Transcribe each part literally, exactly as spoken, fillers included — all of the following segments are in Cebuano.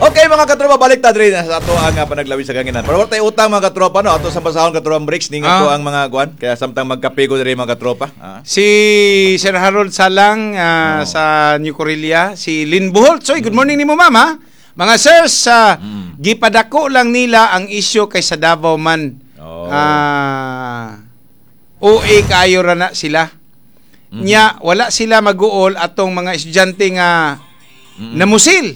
Okay, mga katropa, balik ta diri na sa ato ang uh, panaglawig sa kahanginan. Pero wala tayo utang, mga katropa, no. Ato sa basahon, katropa Bricks, ning ato Ah. ang mga kuan kaya samtang magkape ko diri, mga katropa. Ah. Si Sir Harold Salang ah, Oh. sa New Corelia, si Lynn Buholt. Soy, good morning nimo, ma'am, ha. Mga sirs, ah, Mm. gipadako lang nila ang isyu kay sa Davao man. Oh. Ah, O A kaayo ra na sila. Mm. Nya wala sila maguol atong mga estudyante nga Mm. namusil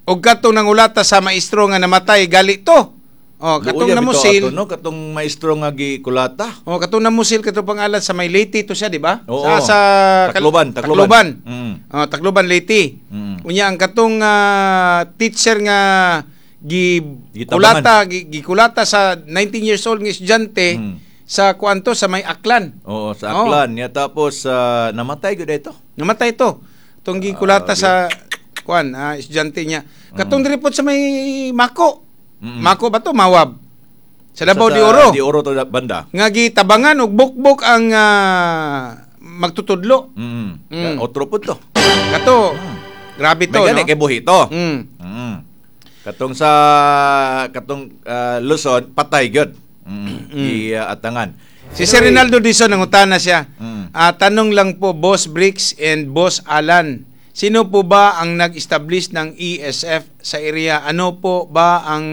og katong nangulata sa maestro nga namatay gali to. Oh, katong Luoya bitaw namusil. ato, no, katong maestro nga gikulata. Oh, katong namusil, katong pangalan sa may Leyte to siya, di ba? Oo. Sa sa Tacloban, Tacloban. Tacloban. Mm. Oh, Tacloban, Leyte. Mm. Unya ang katong ah, teacher nga gi Gitabangan. kulata gi, gikulata sa nineteen years old nga estudyante Mm. sa kuanto sa may Aklan. Oo, sa Oo. Aklan. Ya, tapos ah, namatay gyud ito. Namatay to. Itong gikulata Ah, sa kuan, ah, estudyante niya. Katong diri pod sa may Mako. Mm. Mako ba to? Mawab. Sa Davao Sa- de Oro. Di Oro to banda. Nga gitabangan og bukbok ang ah, magtutudlo. Mm. Mm. Otro pud to. Kato, grabe to, May gani no? kay buhi to. Mm. Mm. Katong sa katong ah, Luzon patay gyud. Mm. Giatangan. Si Sir Rinaldo Dizon, nangutana siya. Mm. Ah, tanong lang po, Boss Bricks and Boss Alan. Sino po ba ang nag-establish ng E S F sa area? Ano po ba ang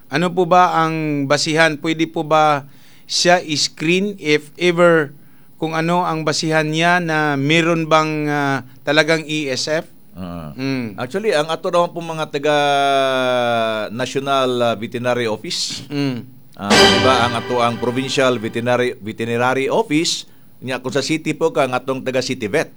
ano po ba ang basihan? Pwede po ba siya i-screen if ever kung ano ang basihan niya na meron bang ah, talagang E S F? Ah. Mm. Actually, ang ato naman po mga taga National ah, Veterinary Office, Mm. ah, di ba ang ato ang Provincial Veterinary Veterinary Office, nya kung sa city po ka ang atong taga City Vet.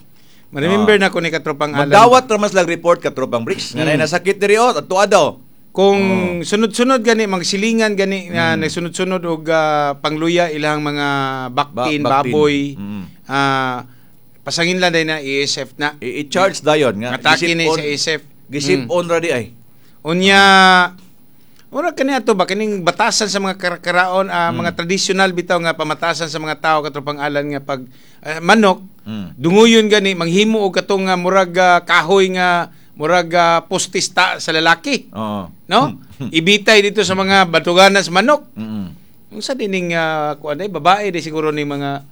Remember Ah. na ko ni katropang Alan. Magdawat ra mas lag report, katropang Bricks. Nga Mm. mm. nasakit diri oh, ato daw. Kung Oh. sunod-sunod gani magsilingan gani nga Mm. nagsunod-sunod og ah, pangluya ilang mga baktin, Ba- baktin. baboy, Mm. ah, pasangin lang din na E S F na. I- I-charge dayon nga. Atake Gisip ni on- sa E S F. Gisip Mm. on ra di ay. Unya ura kani ato ba kining batasan sa mga karakaraon, ah, Mm. mga traditional bitaw nga pamatasan sa mga tao, katropang Alan, nga pag ah, manok Mm. dunguyon gani manghimo og katong nga murag ah, kahoy nga murag ah, postista sa lalaki. Oo. No? Ibitay dito sa mga batuganas manok. Mm. Unsa dining uh, kuan ay babae di siguro ning mga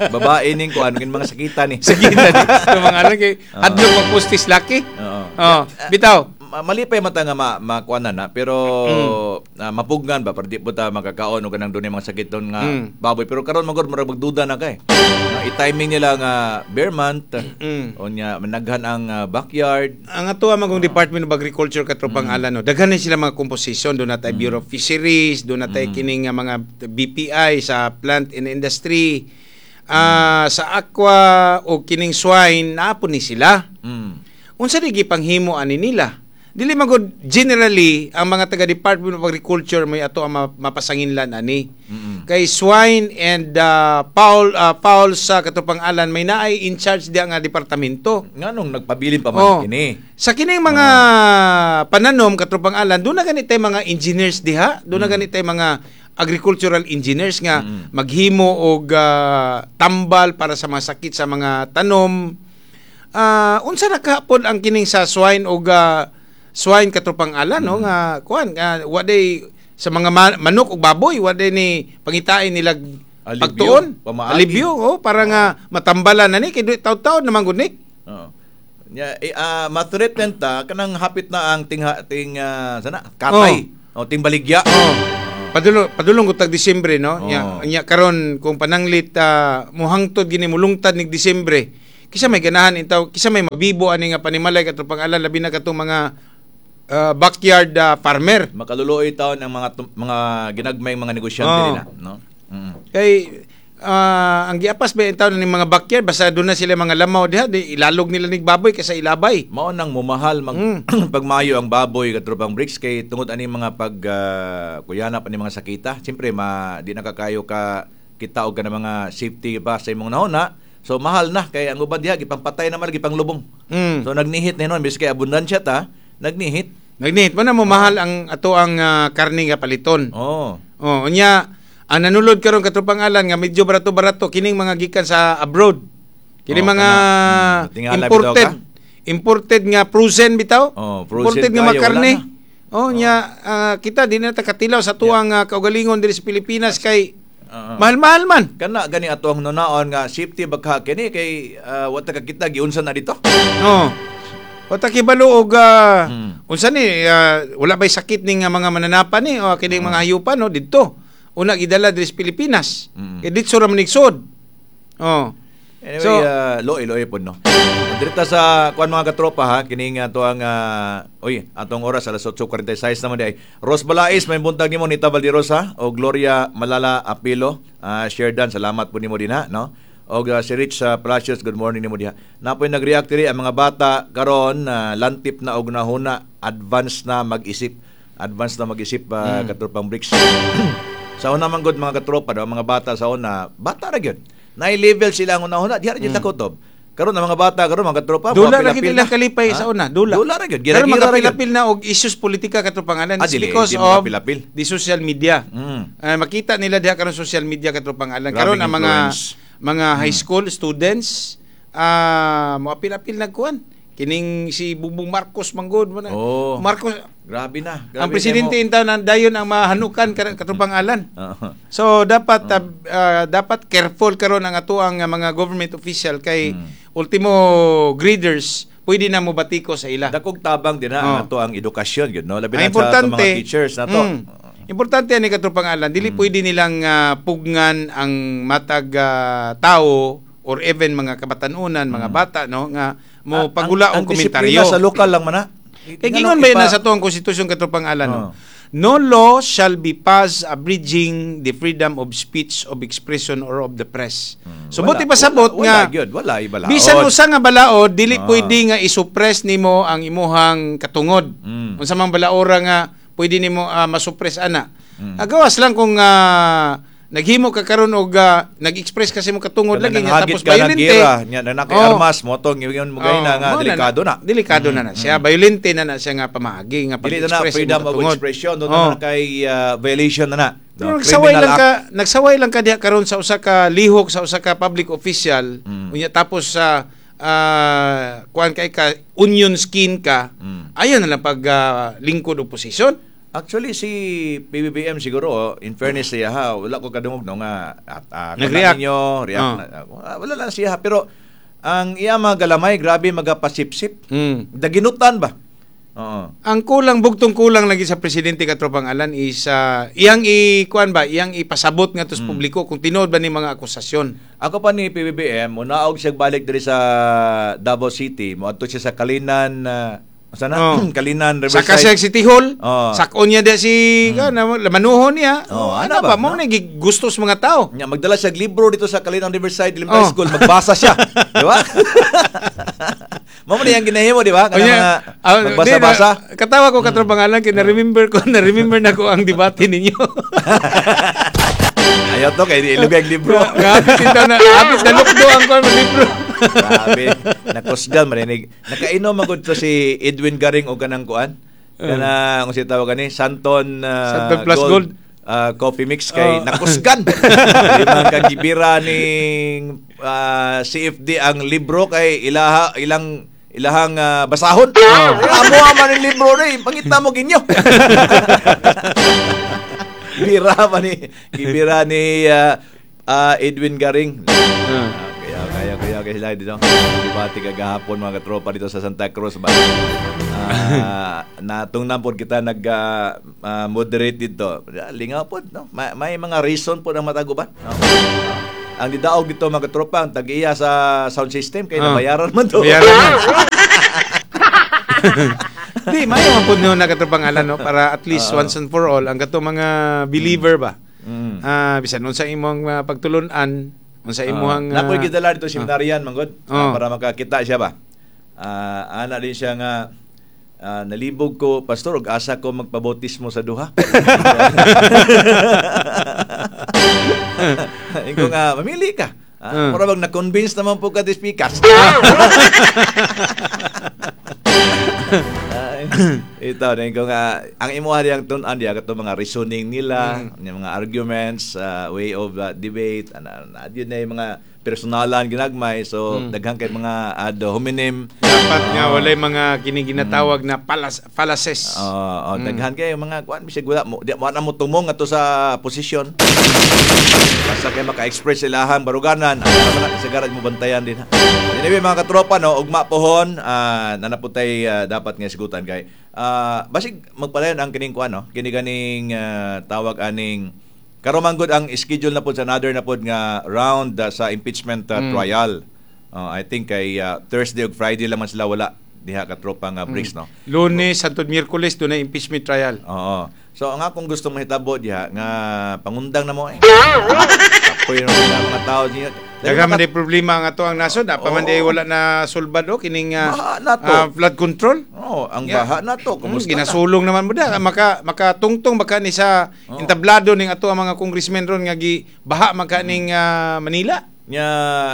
Babae ning kuan kin mga sakita ni. sakita di sa mga ano kay hadlok magpostis laki. Oo. Oh, bitaw. Ma- malipay man ta nga ma makuanan na pero Mm. ah, mapugnan ba pero di po ta makakaon og kanang dunay mga sakit doon nga Mm. baboy, pero karon magod murag magduda na kay nga i-timing nila nga bare month Mm. unya managhan ang ah, backyard. Ang ato ang magong Department of Agriculture, katropang Alan, no. Daghan na sila mga composition, do na tay Bureau of Fisheries, do na tay kining nga mga B P I sa plant and industry. Ah, sa aqua o kining swine naa po ni sila. mm. Unsa di gipanghimo ani nila? Dili magod generally ang mga taga Department of Agriculture may ato ang ma- mapasanginlan ani. Mm-mm. Kay swine and uh, fowl uh, fowl sa katropang Alan may naay in charge diya nga departamento. Nganong nagpabilin pa man Oh. kini? Sa kining mga pananom, katropang Alan, doon na ganit tay mga engineers diha, doon na ganit tay mga agricultural engineers nga Mm. maghimo og ah, tambal para sa mga sakit sa mga tanom. Ah, unsa na kapod ang kining sa swine og ah, swine, katropang Alan, no, nga kuan nga wa day sa mga ma- manok ug baboy, wa day ni pangitain nila Alibyo, pagtuon pamaagi. alibyo, oh, para nga matambalan na ni kay taud-taud naman gud ni. Oo. Nya eh, ah, ma-threaten ta kanang hapit na ang tingha ting ah, sana katay o ting baligya. Oh. Padulong padulong ko tag Disyembre, no. Oo. Nya, nya karon kung pananglit uh, muhangtod gini mulungtad nig Disyembre. Kisa may ganahan intaw, kisa may mabibo ani nga panimalay, katong pangalan, labi na katong mga ah, backyard ah, farmer. Makaluluoy taon ang mga tum- mga ginagmay mga negosyante Oo. nila, no? Mm. Kay ah, ang giapas ba intaw ning mga backyard, basta doon na sila mga lamaw diha di ilalog nila nig baboy kaysa ilabay. Mao nang mumahal mag Mm. pagmayo ang baboy, katropang Bricks, kay tungod ani mga pag ah, kuyanap ani mga sakita. Siyempre ma di na kakayo ka kita og kana mga safety ba sa imong nahuna. So mahal na kay ang uban diha gipangpatay naman, gipanglubong. Mm. So nagnihit na hinon biski kay abundansya ta, nagnihit. Nagnihit mo na mo mahal ang ato ang ah, karne nga paliton. Oh. Oh, unya ang nanulod karon, katropang Alan, nga medyo barato-barato kining mga gikan sa abroad. Kini Oh, mga kana. Mm, tingala imported bitaw. Imported nga frozen bitaw. Oh, frozen Imported nga mga kayo, wala karne. na. Oh, nya ah, kita di na ta katilaw sa tuang uh, kaugalingon diri sa Pilipinas kay Oo. mahal-mahal man. Kana gani ato ang nunaon nga safety bagka kini kay uh, wa ta kakita giunsa na dito. Oh. Wa ta kibalo og ah, Mm. unsa ni ah, wala bay sakit ning ah, mga mananapan ni o kining mga hayupan, no, didto. Una gidala diri sa Pilipinas. Mm. Kay didto ra man igsod. Oh. Anyway, So- uh, loy loy pod, no. Direta sa kuan, mga katropa, ha, kini nga to ang ah, oy, atong oras alas otso kwarenta y sais naman di ay. Ros Balais, may buntag nimo. Nita Valderosa o Gloria Malala Apilo, uh, Sherdan, salamat po nimo din ha, no. Og uh, si Rich sa Palacios, good morning nimo diha. Napoy nag-react diri, ang mga bata karon uh, lantip na og nahuna, advance na mag-isip. Advance na mag-isip, uh, katropang Bricks. Sa una man gud, mga katropa daw, mga bata sa una, bata ra gyud. Na level sila ang una-una, diha ra gyud mm. kutob. Karon ang mga bata karon, mga katropa, Dula mga ra gid pilapil ilang kalipay Ha? sa una, dula. Dula ra gyud. Pero Gira-gira ra gyud. magapilapil na og issues politika, katropang Alan. Ah, It's dili, because di of magapilapil. the social media. Mm. Ah, makita nila diha karon social media, katropang Alan. Grabing Karon ang mga influence. mga high school students ah moapil-apil nagkuan. Kining si Bongbong Marcos manggod mo na. Oh. Marcos Grabe na. Grabe ang presidente na in taon ang dayon ang mahanukan, katropang Alan. mo. Oo. So dapat ah, ah, dapat careful karon ang atoang ah, mga government official kay Mm. ultimo graders pwede na mo batiko sa ila. Dakog tabang din ha ang Oh. ato ang edukasyon gyud, no. Labi Ang na sa atong importante mga teachers na to. Mm, importante ani, katropang Alan, dili pwede nilang ah, pugnan ang matag ah, tao or even mga kabatanunan, mga bata, no, nga mo Ah, pagula ang, og ang disiplina komentaryo. sa lokal lang man ha. Kay gingon ba yun na sa tuang konstitusyon, katropang Alan, no? Oh. No law shall be passed abridging the freedom of speech, of expression, or of the press. So Hmm. Wala, buti pasabot wala, nga wala gyud, wala ibalaod. bisan usa nga balaod, dili Ah. pwede nga isuppress nimo ang imuhang katungod. Mm. Unsa mang balaora nga pwede nimo uh, masuppress ana. Mm. Agawas lang kung ah, naghimo ka karon og ah, nag-express kasi mo katungod Kanang lagi nga nanghagit tapos ka ng violente. gira, nya na nakay Oh. armas mo tong yun mo gay na Oh, nga mao delikado na. Delikado na na siya. Violente na na siya nga pamaagi nga Dili na na pag-express freedom imong of katungod. expression, doon Oh. na na kay ah, violation na na. Pero No, nagsaway criminal lang act. ka, nagsaway lang ka diha karon sa usa ka lihok sa usa ka public official, Mm. unya tapos sa ah, kuan kay ka onion skin ka, Mm. ayon na lang pag ah, lingkod oposisyon. Actually si P B B M siguro, oh, in fairness siya ha, wala ko kadungog no nga at uh, Nag-react. ninyo, react Oh. na, ah, wala lang siya ha. Pero ang iya mga galamay grabe magapasipsip. Mm. Daginutan ba? Oo. Ang kulang, bugtong kulang lagi sa presidente, katropang Alan, is ah, iyang i kuan ba, iyang ipasabot nga Mm. sa publiko kung tinuod ba ni mga akusasyon. Ako pa ni P B B M, munaog siya balik diri sa Davao City, moadto siya sa Kalinan, uh, sana Oh. Kalinan Saka Riverside. siya City Hall, Oh. sakon niya diya si mm. manuhon niya. Oh, Oh, ana ano ba, ba, mo no? na gustos mga tao. Nya magdala siya og libro dito sa Kalinan Riverside Elementary Oh. School, magbasa siya, di ba? Mao man yang ginahimo, di ba? Kanang Unya, mga ah, magbasa-basa. di na- katawa ko, katropang Alan, kay na-remember ko, na-remember na ko ang debate ninyo. Ayaw to kay ilugay ang libro. Nga hapit ito na, hapit na lukdo ang kuan libro. Grabe, nakusgan marinig. Nakainom magud to si Edwin Garing og kanang kuan. Kanang kung siya tawag ani, Santon ah, Santon Plus Gold. ah, coffee mix kay Oh. nakusgan. Di man kagibira ning ah, C F D ang libro kay ilaha ilang ilahang ah, basahon. Amo man ang libro ni, pangita mo ginyo. Bira pa ni gibira ni ah, ah, Edwin Garing. Ah, kaya kaya kaya kaya sila dito. Debate kagahapon, mga katropa, dito sa Santa Cruz ba. Ah, natungnan pod kita nag ah, ah, moderate dito. Lingaw pod, no. May, may mga reason pod ang mataguban. No? Ah, ang didaog dito, mga katropa, ang tag-iya sa sound system kay Ah. nabayaran man to. Bayaran man. Di, mayo man pud no na, katropang Alan, no, para at least once and for all ang kato mga believer ba. Mm. Ah, bisan unsa imong uh, pagtulun-an, unsa imong Uh, Nakoy ah, gidala dito seminaryan manggod Oh. ah, para makakita siya ba. Ah, ana din siya nga ah, nalibog ko, pastor, og asa ko magpabautismo sa duha. Ingo nga mamili ka. Ah, Mm. Mura bang na-convince naman po ka this pikas. Ay, Ito, na ko nga ang imuha diyang tun-an diya kato mga reasoning nila, mm. yung mga arguments, uh, way of uh, debate, ana ana yun na yung mga personalan ginagmay. So mm. daghan kay mga ad hominem. Dapat nga walay mga kini ginatawag na palas, fallacies. Oo, oh, mm. daghan kay mga kuan bisag wala mo di mo na mo tumong ato sa posisyon. Basta kay maka-express ilahang baruganan, ang man na kasagaran mo bantayan din. Ha. Anyway, mga katropa no, ugma pohon, uh, nanaputay uh, dapat nga sigutan kay uh, basig magpadayon ang kining kuan no, kini ganing uh, tawag aning karon man gud ang schedule na pod sa another na pod nga round uh, sa impeachment uh, mm. trial. Uh, I think kay uh, Thursday ug Friday lang man sila wala diha katropa nga Bricks mm. no. Lunes hangtod Miyerkules do na impeachment trial. Oo. So ang akong gusto mahitabo diha nga pangundang na mo eh. Kapoy na mga mga tao niya. Daghan man di problema nga to ang nasod, pa man di wala na sulbad o kining uh, Baha na to. ah, flood control. Oh, ang Yeah. baha na to. Mm, Kumusta na? ginasulong naman mo da maka makatungtong baka ni sa Oo. entablado ning ato ang mga congressmen ron nga gi baha man ka ning ah, Manila. Nya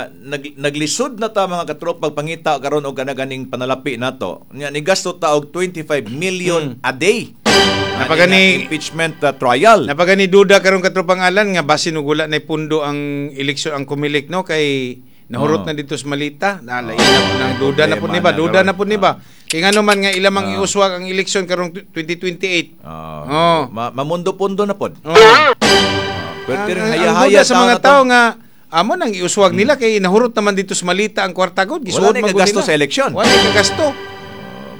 nag, naglisod na ta mga katropa pangita karon og kanaganing panalapi nato. Nya nigasto ta og twenty-five million a day. Napagani- Ani nga impeachment uh, trial. Napagani duda karon, katropang Alan, nga basin og wala na pundo ang eleksyon ang Comelec no, kay nahurot Oo. na dito sa malita. Nalain na po nang duda na po ni ba, Problema na duda na karon. po ni ba. Kay ngano man nga ilamang Ah. iuswag ang eleksyon karong twenty twenty-eight. Ah, Oo. ma- mamundo-pundo na pod. Oh. Pwede rin Ang- ang haya-haya duda sa tao mga na to. tao nga amo nang iuswag nila kay nahurot naman dito sa malita ang kwarta gud. Wala na man gud kagasto nila. sa eleksyon. Wala na kagasto.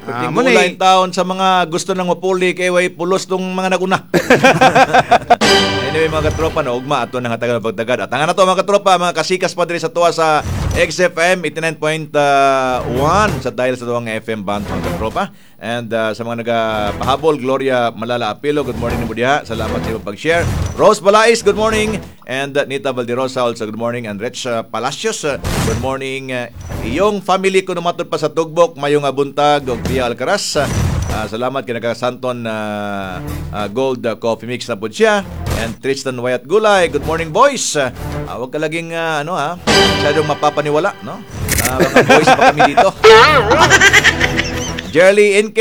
Pwede Ah, mo na gulay eh. taon sa mga gusto nang mapuli kay way pulos tong mga naguna. Anyway, mga katropa no, ugma ato nang hatagan pagtagad. At ang na to mga katropa, mga kasikas pa diri sa tuwa sa X F M eighty-nine point one sa dial sa tuwang F M band, mga katropa. And uh, sa mga nagapahabol, Gloria Malala Apilo, good morning nimo diha. Salamat sa imong pag-share. Rose Balais, good morning. And uh, Nita Valderosa also good morning. And Rich uh, Palacios, uh, good morning. Uh, iyong family ko numatod pa sa Tugbok, mayong buntag og Pia Alcaraz. Uh, Ah, salamat kay nagkasanton na uh, Gold uh, Coffee Mix na po siya. And Tristan Wyatt Gulay, good morning, boys. Uh, wag ka laging ah, ano ha, masyadong mapapaniwala, no? Ah, mga boys pa kami dito. Jerly N K,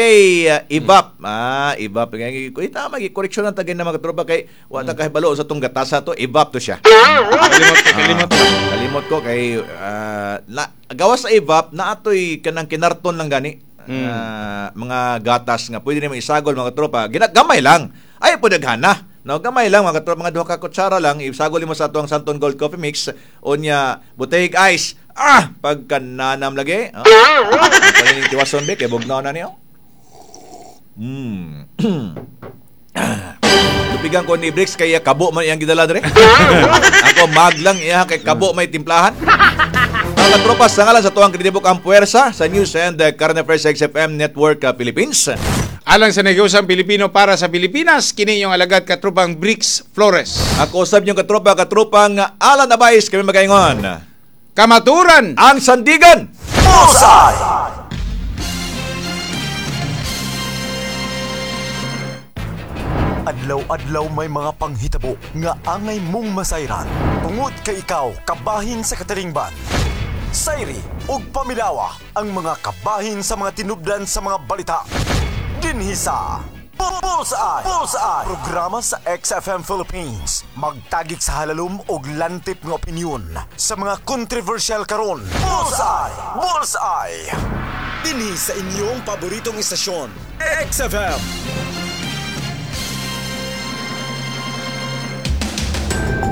uh, Ibap. Ah, Ibap. Kuy tama gi correction ang tagay na mga tropa kay wa ta kahibalo sa tong gatasa to, Ibap to siya. Kalimot ko, kalimot ko. Ah, kalimot ko kay ah, na, gawas sa Evap na atoy kanang kinarton lang gani. Ah, mga gatas nga pwede nimo isagol, mga tropa. Ginagamay lang. Ay po daghana. No, gamay lang, mga tropa, mga duha ka kutsara lang isagol mo sa atuang Santon Gold Coffee Mix unya butehig ice. Ah, pagkananam lagi. Ah. Paning tiwason be kay bugnaw na niyo. Mm. Lupigan ko ni Bricks kaya kabo man iyang gidala dire. Ako mag lang iya kay kabo may timplahan. Mga katropa, sa ngalan sa tuwang kritibok ang puwersa sa News and uh, Current Affairs X F M Network uh, Philippines. Alang sa negosang Pilipino para sa Pilipinas, kini yung alagad katropang Bricks Flores. Ako usab niyong katropa, katropang Alan Abais, kami magaingon. Kamaturan! Ang Sandigan! Bullseye! Adlaw-adlaw may mga panghitabo nga angay mong masayran. Tungod kay ikaw kabahin sa katilingban. Sayri ug pamilawa ang mga kabahin sa mga tinubdan sa mga balita. Dinhi sa Bullseye! Bullseye! Programa sa X F M Philippines. Magtagik sa halalom og lantip nga opinyon sa mga kontrobersyal karon. Bullseye! Bullseye! Dinhi sa inyong paboritong istasyon, X F M.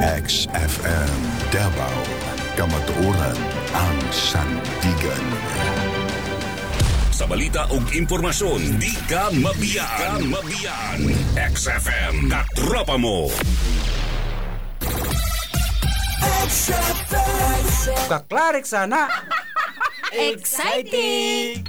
X F M Davao, Kamatuoran ang Sandigan. Sa balita ug impormasyon, di ka mabiyaan. Ka mabiyaan. X F M, katropa mo. Kaklarik sana. Exciting!